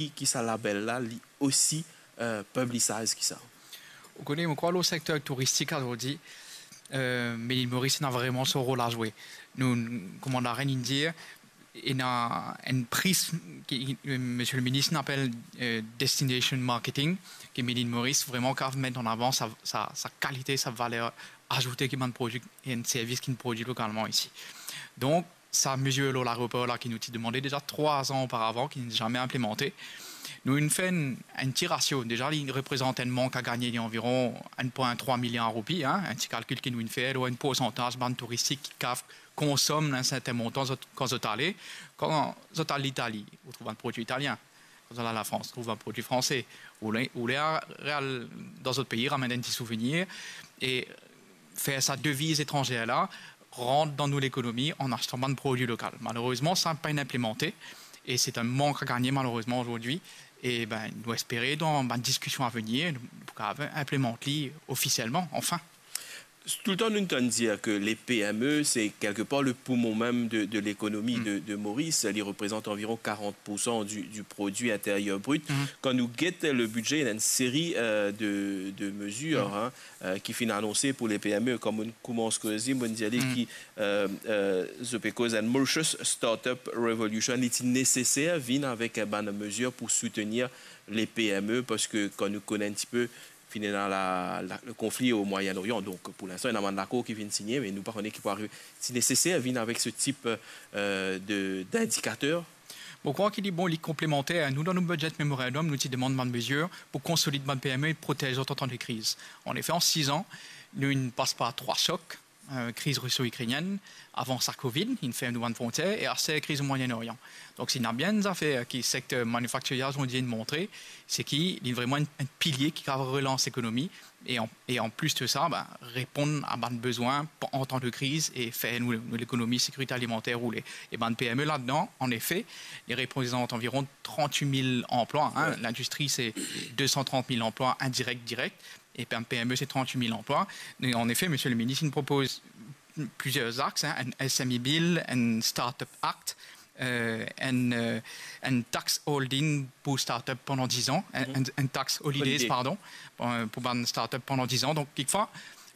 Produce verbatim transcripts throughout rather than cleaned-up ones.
ki, ki sa label la, li osi, euh, publicize ki sa? Ou kone, mo krwar lor sekter touristik azordi, euh, Made in Maurice ena vreman so rol a zwe. Nou, kouma larenn inn dir, ena enn pri ki, euh, Monsieur le Ministre inn apel, euh, destination marketing, ki Made in Maurice vreman kav met an avan sa, sa, sa kalite, sa valer azoute ki bann prodwi, enn servis ki nou prodwi lokalman isi. Donk, sa mezir lor laeropor la ki nou ti demande deza trwa an oparavan, ki nou zame inplimante. Nou inn fer enn, enn ti rasio. Deza, li reprezant enn mank a gagne, li anviron enn pwin trwa miliar roupi, hein, enn ti kalkil ki nou inn fer, lor enn poursantaz bann touristik ki kav konsom enn sertin montan zot, kan zot ale, kan zot al Litali, ou trouv bann prodwi italien. Kan zot al Lafrans, trouv bann prodwi franse. Ou le, ou le al dan zot pei, ramenn enn ti souvenir, e fer sa deviz etranzer la rant dan nou lekonomi an astan bann prodwi lokal. Malerezman, sa pa'nn inplimante, e se enn mank a gagne, malerezman, azordi. E ben, nou espere, dan bann diskision a venir, nou pou kav inplimant li ofisielman, anfin. Toultan nou tann dir ke le P M E, se kelkepar le poumon mem de, de lekonomi de, de Moris. Li reprezant anviron karant poursan di, di prodwi interyer brit. Kan nou get le bidze, ena enn seri, euh, de, de mezir, hein, euh, ki finn anonse pou le P M E. Kan mo'nn koumans koze, mo'nn dir li ki, euh, euh, zot pe koz enn Mauritius Startup Revolution. Li ti neseser vinn avek bann mezir pou soutenir le P M E, parski kan nou kone enn tipe, finn ena la, la, le konfli o Mwayen-Orian. Donk, pou linstan, ena bann lakor ki finn signe, me nou pa kone ki pou arive. Ti neseser vinn avek se tip, euh, de, dindikater. Mo krwar ki li bon, li konplemanter. Nou, dan nou budget memorandum, nou ti demann bann mezir pou konsolid bann P M E e protez zot an tan de kriz. Anefe, an siz an, nou inn pas par trwa sok, euh, kriz riso-ikrenienn, avan sa Covid, inn ferm nou bann frontier, e aster kriz Mwayen-Orian. Donk, si ena bien enn zafer ki sekter manifaktirer azordi inn montre, se ki li vreman enn, enn pilie ki kav relans lekonomi, e an, e an plis de sa, ben, reponn a bann bezwin pa-, an tan de kriz e fer nou, nou lekonomi sekirite alimanter roule. E bann P M E ladan, anefe, li reprezant anviron trant-wit mil anplwa, hein. Lindistri, se de san trant mil anplwa indirek, direk. E bann P M E, se trant-wit mil anplwa. E anefe, Monsieur le Ministre, nou propoz plizier axe, hein, enn S M E Bill, enn Startup Act, euh, enn, euh, enn tax holding pou startup pandan diz an, enn, enn, enn tax holidays, pardon, pou, pou bann startup pandan diz an. Donk, kikfwa,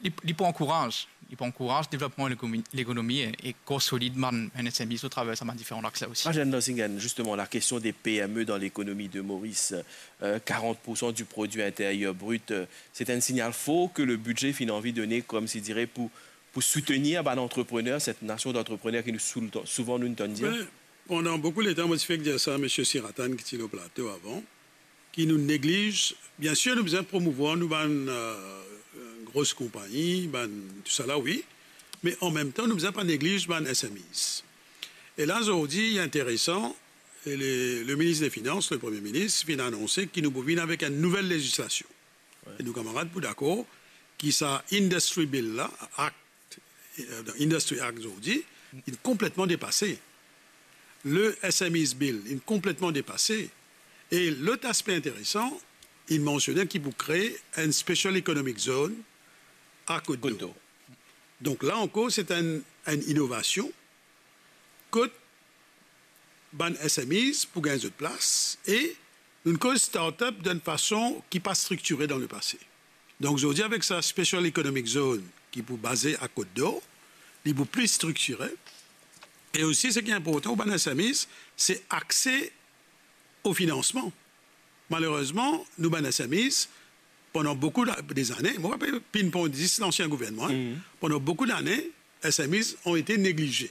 li, li pou ankouraz, li pou ankouraz devlopman lekonomi, lekonomi e, e konsolid bann, bann S M Es atraver sa bann diferan axe la osi. Mazen Nansinghen, justement, la question des P M E dans l'économie de Maurice, euh, karant poursan du produit intérieur brut, euh, c'est un signal fort que le budget finn anvi donne, comme si dire, pou, pou soutenir bann antreprener, cette nation d'entrepreneurs ki nou sou-, souvan nou tann dir. Ben, pandan boukou letan, mo ti fek dir sa Monsieur Siratan ki ti lor plato avan, ki nou negliz, bien sir, nou bizin promouvwar nou bann, euh, gros konpagni, bann tousala, wi, me anmemtan, nou bizin pa negliz bann S M Es. E la, zordi, li interesan, e le, le minis de finans, le premie minis, finn anonse ki nou pou vinn avek enn nouvel lezislasion. E nou kamarad pou dakor ki sa Industry Bill la, Act, euh, Industry Act zordi, li konpletman depase. Le S M Es Bill, li konpletman depase. E lot aspe interesan, li mansione ki pou kree enn Special Economic Zone a Côte d'Or. Donk la ankor, se enn, enn inovasion kot bann S M Es pou gagn zot plas e nou koz startup dan enn fason ki pa striktire dan lepase. Donk, zordi, avek sa Special Economic Zone ki pou baze a Côte d'Or, li pou pli striktire. E osi, seki inportan pou bann S M Es, se akse o finansman. Malerezman, nou bann S M Es, pandan boukou la-, dezane, mo rapel, pinn pandan dis lansien gouvernman, hein, pandan boukou dane, S M Es ont été négligés.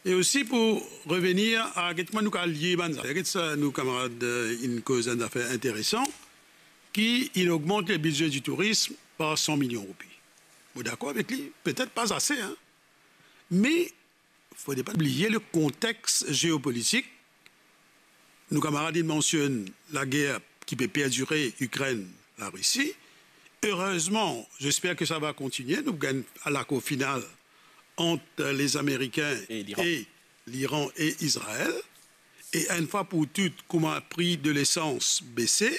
E osi pou revenir a, get kouma nou kav lie bann zafer, get sa nou kamarad, euh, inn koz enn zafer interesan, ki inn ogmant le bidze di tourism par san milion roupi. Mo dakor avek li, petet pa ase, hein. Me fode pa bliye le kontex zeopolitik. Nou kamarad inn mansionn lager ki pe perdire Ikrenn, Larisi. Erezman, j'espère que ça va continuer, nou gagn lakor final ant Lezamerikin e Liran e Izrael. E enn fwa pou tou, kouma pri de lesans bese,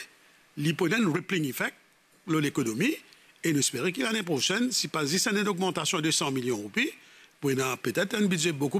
li pou ena enn rippling effect lor lekonomi, e nou espere ki lane prosenn, si pa zis enn ogmantasion de san milion roupi, pou ena petet enn bidze boukou